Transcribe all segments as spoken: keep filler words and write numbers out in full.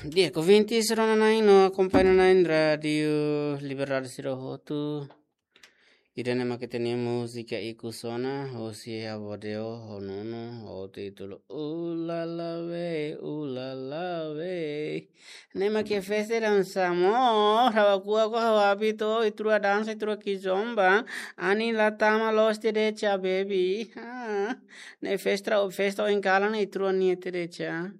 Di'ak, ouvinte sira-na'in no akompaña na'in Rádiu Liberdade sira hotu. Ida-ne'e mak ita-nia múzika ikus ona, hosi avó Deo, ho Nuno, ho títulu Ulala we, ulala we. Ne'e mak iha festa dansa mós, ha'u hakuak, ha'u hábitu, ita rua dansa, ita rua kizomba, anin la tama loos tiha de'it, baby. Ah, ne'e festa, festa oin kalan ne'e ita rua-nia tiha de'it.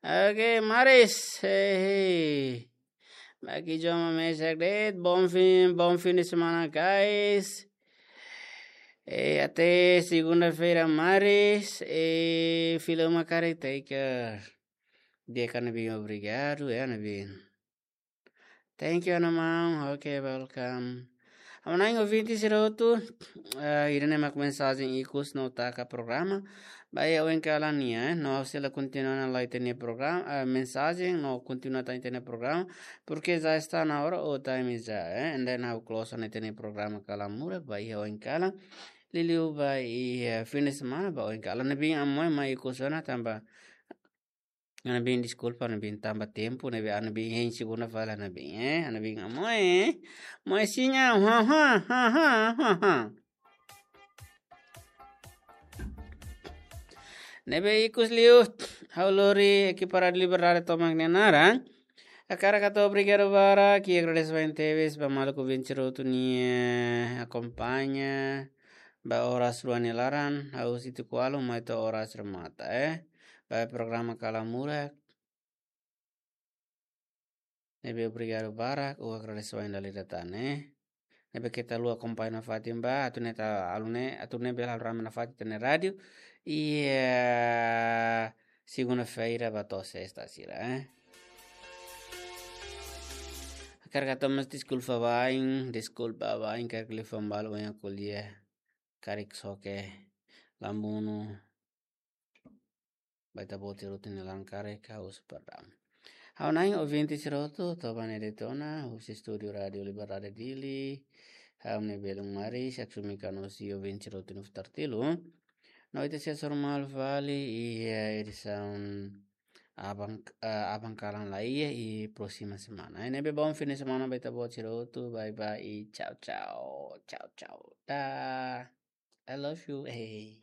Oke, maris. Hehe. Bagi joma mesak de'it, bom fim, bom fim de semana, guys. Eh, até segunda-feira, maris. Eh, fila uma caretaker. Di'ak, Ana Bin, obrigadu, eh, Ana Bin. Thank you, Ana Maun. Ok, welcome. Ha'u-nia ouvinte sira hotu, eh, ida-ne'e mak mensajen ikus no taka programa. Ba iha oin kalan nian, eh, no ha'u sei la kontinua ona lai ita-nia programa, eh, mensajen, no kontinua tan ita-nia programa, porque já está na hora, o time já, eh, and then ha'u close ona ita-nia programa Kalan Murak, ba iha oin kalan. Liuliu ba iha, eh, fim de semana, ba oin kalan. Ne'ebé amo mai ikus ona tanba Ana Bin, deskulpa, Ana Bin, tanba tempu, ne'ebé Ana Bin hein segunda fali, Ana Bin, eh, Ana Bin, amo, eh, amo, eh, sinya, ha, ha, ha, ha, ha, ha. Ne'ebé ikus liu, ha'u lori ekipa Rádiu Liberdade tomak nia naran. Hakarak hato'o obrigadu barak, i agradese barak tebes ba maluk ouvinte sira hotu nia akompaña, ba oras rua nia laran, ha'u husi tuku ualu mai to'o oras remata, eh. Ba programa Kalan Murak. Ne'ebé obrigadu barak, ha'u agradese barak dala ida tan, eh. Ne'ebé keta haluha akompaña nafatin ba, atu nune'e ita, halo nune'e, atu nune'e bele halo rame nafatin ita-nia rádiu. Iha segunda-feira ba to'o sesta sira, eh. Hakarak hato'o mós deskulpa ba oin, deskulpa ba oin, karik liafuan balu oin ha'u ko'alia karik soke, lamunu, ba ita-boot sira hotu nia laran karik, ha'u husu perdão. Ha'u-nia ouvinte sira hotu, to'o ba ne'e de'it ona, husi estúdiu Rádiu Liberdade Dili, ha'u-nia belun maris, Aksumi Kano, husi ouvinte sira hotu nia futar tilu. No ita sei hasoru malu fali iha edisaun aban, eh, aban kalan lai iha, i próxima semana. Ne'ebé bom fim de semana ba ita-boot sira hotu. Bye bye, i tchau, tchau. Tchau, tchau. Dah. I love you. Hey.